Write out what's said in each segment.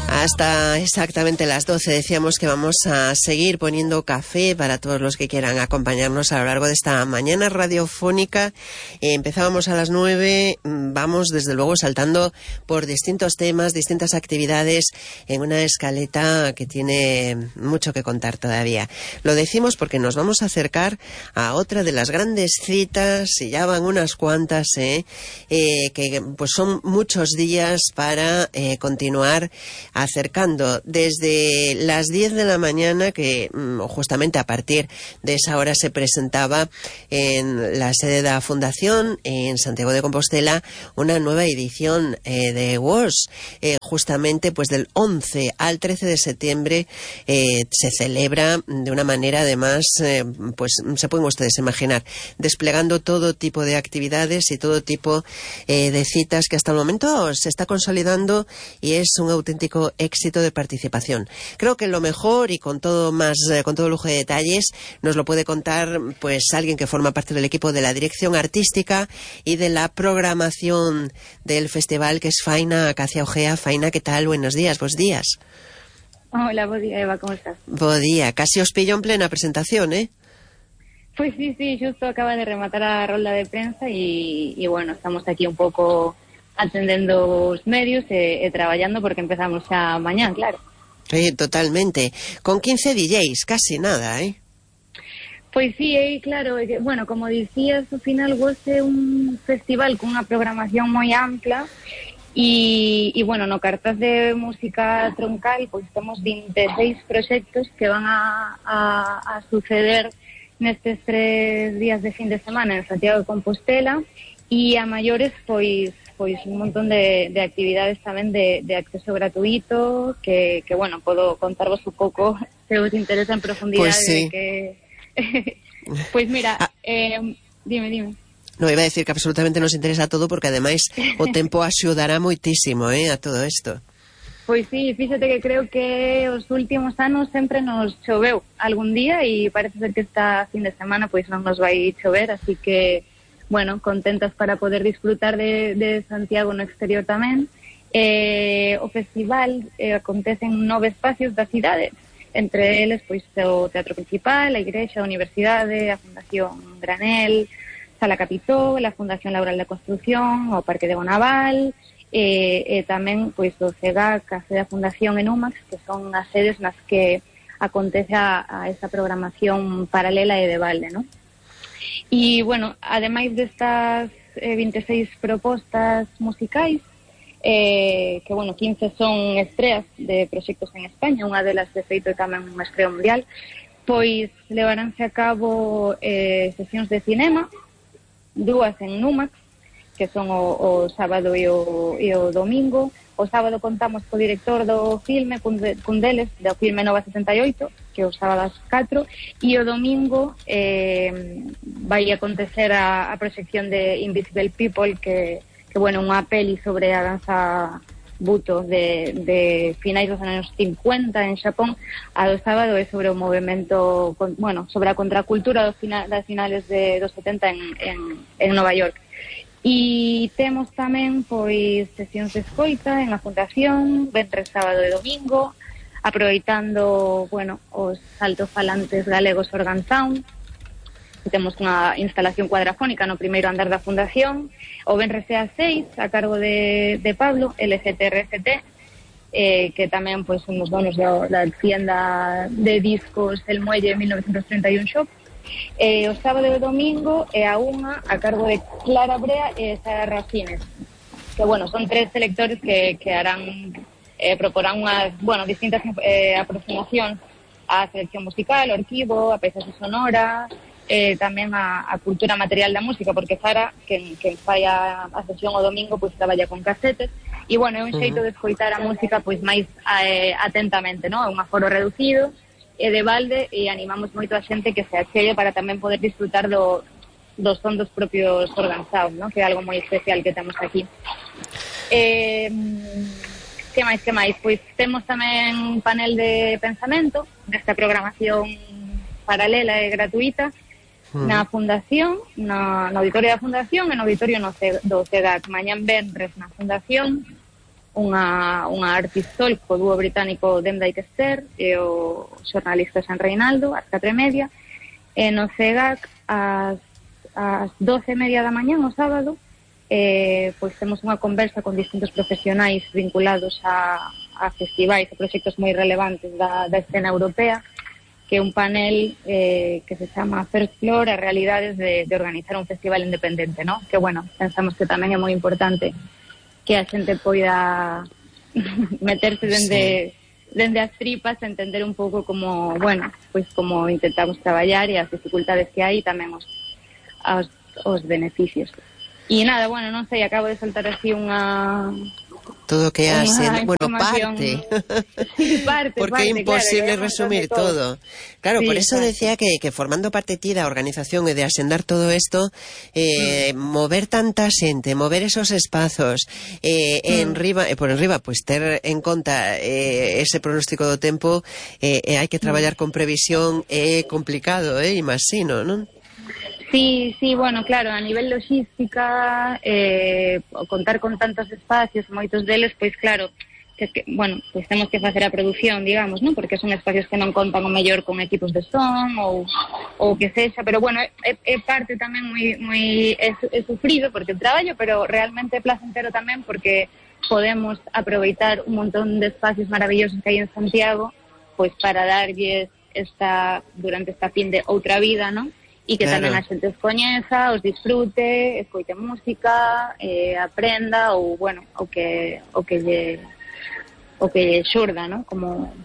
Hasta exactamente las 12 decíamos que vamos a seguir poniendo café para todos los que quieran acompañarnos a lo largo de esta mañana radiofónica. Empezábamos a las 9, vamos desde luego saltando por distintos temas, distintas actividades en una escaleta que tiene mucho que contar todavía. Lo decimos porque nos vamos a acercar a otra de las grandes citas, y ya van unas cuantas, que pues son muchos días para continuar acercando desde las 10 de la mañana, que justamente a partir de esa hora se presentaba en la sede de la Fundación en Santiago de Compostela una nueva edición de WOS. Justamente pues del 11 al 13 de septiembre se celebra de una manera además, pues se pueden ustedes imaginar, desplegando todo tipo de actividades y todo tipo de citas que hasta el momento se está consolidando, y es un auténtico éxito de participación. Creo que lo mejor, y con todo lujo de detalles, nos lo puede contar pues alguien que forma parte del equipo de la dirección artística y de la programación del festival, que es Faina Acacia Ojea. Faina, ¿qué tal? Buenos días, bos días. Hola, buen día, Eva, ¿cómo estás? Buen día, casi os pillo en plena presentación, ¿eh? Pues sí, justo acaba de rematar a rolda de prensa y bueno, estamos aquí un pouco atendendo os medios e traballando porque empezamos xa mañán, claro. Totalmente. Con 15 DJs, casi nada, ¿eh? Pois sí, claro, bueno, como dicías, ao final é un festival con unha programación moi ampla e bueno, no cartaz de música troncal pois temos 26 proxectos que van a suceder nestes 3 días de fin de semana en Santiago de Compostela, e a maiores pois un montón de actividades tamén de acceso gratuito que bueno, podo contarvos un pouco se os interesa en profundidade. Pues sí. Pois mira, dime. No, iba a decir que absolutamente nos interesa todo, porque ademais o tempo axudará moitísimo a todo isto. Pois sí, fíxate que creo que os últimos anos sempre nos choveu algún día e parece ser que esta fin de semana pois non nos vai chover, así que bueno, contentas para poder disfrutar de Santiago no exterior tamén. O festival acontece en 9 espacios da cidade, entre eles pois o Teatro Principal, a Igrexa, a Universidade, a Fundación Granel, Sala Capitó, a Fundación Laboral da Construción, o Parque de Bonaval, e tamén pois o CEGAC, a sede da Fundación en UMAX, que son as sedes nas que acontece a esta programación paralela e de balde, non? E, bueno, ademais destas 26 propostas musicais, que, bueno, 15 son estreas de proxectos en España, unha delas, de feito, é tamén unha estrea mundial, pois levaránse a cabo sesións de cinema, 2 en Numax, que son o sábado e o domingo. O sábado contamos co director do filme, cun deles, do filme Nova 78, que é o sábado ás 4, e o domingo vai acontecer a proxección de Invisible People, que bueno, unha peli sobre a danza buto de finais dos anos 50 en Xapón. A do sábado é sobre o movimento, bueno, sobre a contracultura das finales dos 70 en Nova York. E temos tamén pois sesións de escoita en a Fundación, venres, sábado e domingo, aproveitando, bueno, os altofalantes galegos Organ Sound. Temos unha instalación cuadrafónica no primeiro andar da Fundación, o venres é a 6, a cargo de Pablo, LGTRFT, que tamén pois son os donos da tienda de discos El Muelle 1931 Shop. O sábado e o domingo é a 1, a cargo de Clara Brea e Sara Racines, que, bueno, son 3 selectores que harán, proporán unhas, bueno, distintas aproximacións á selección musical, ao arquivo, a paisaxe sonora, tamén a cultura material da música, porque Sara, que fai a sesión o domingo, pois traballa con casetes, e, bueno, é un xeito de escoitar a música pois máis atentamente, non? É un aforo reducido e de balde, e animamos moito a xente que se achegue para tamén poder disfrutar do son dos propios Organ Sound, ¿no? Que é algo moi especial que temos aquí. Que máis? Pois temos tamén un panel de pensamento nesta programación paralela e gratuita na Fundación, no auditorio da Fundación e no auditorio do CEGAC. Mañán venres na Fundación unha artistol co dúo británico Demdike Esther e o xornalista San Reinaldo ás 4:30, e no CEGAC ás 12:30 da mañá, o sábado, pois temos unha conversa con distintos profesionais vinculados a festivais e proxectos moi relevantes da escena europea, que é un panel que se chama First Floor, as realidades de organizar un festival independente, ¿no? Que, bueno, pensamos que tamén é moi importante que a xente poida meterse dende as tripas, entender un pouco como, bueno, pois como intentamos traballar e as dificultades que hai e tamén os beneficios. E nada, bueno, non sei, acabo de soltar así todo que hace, bueno, parte. Sí, parte. Porque é imposible resumir todo. Claro, sí, por eso decía que formando parte ti da organización e de asendar todo isto, mover tanta xente, mover esos espazos, por enriba, pues ter en conta ese pronóstico do tempo, hai que traballar con previsión, é complicado, imagino, non? Sí, bueno, claro, a nivel logística, contar con tantos espacios, moitos deles, pois claro, bueno, pois temos que facer a produción, digamos, non? Porque son espacios que non contan o mellor con equipos de son ou que sexa, pero bueno, é parte tamén moi é sufrido porque traballo, pero realmente é placentero tamén porque podemos aproveitar un montón de espacios maravillosos que hai en Santiago, pois para darlles durante esta fin de outra vida, non? E que tamén a xente os coñeza, os disfrute, escoite música, aprenda ou, bueno, o que lle xurda, ¿no? Como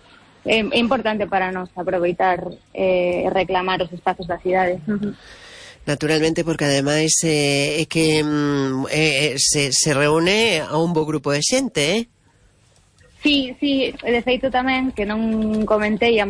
é importante para nós aproveitar e reclamar os espazos da cidade. Naturalmente, porque ademais é que se reúne a un bo grupo de xente, Sí, de feito tamén, que non comentei, a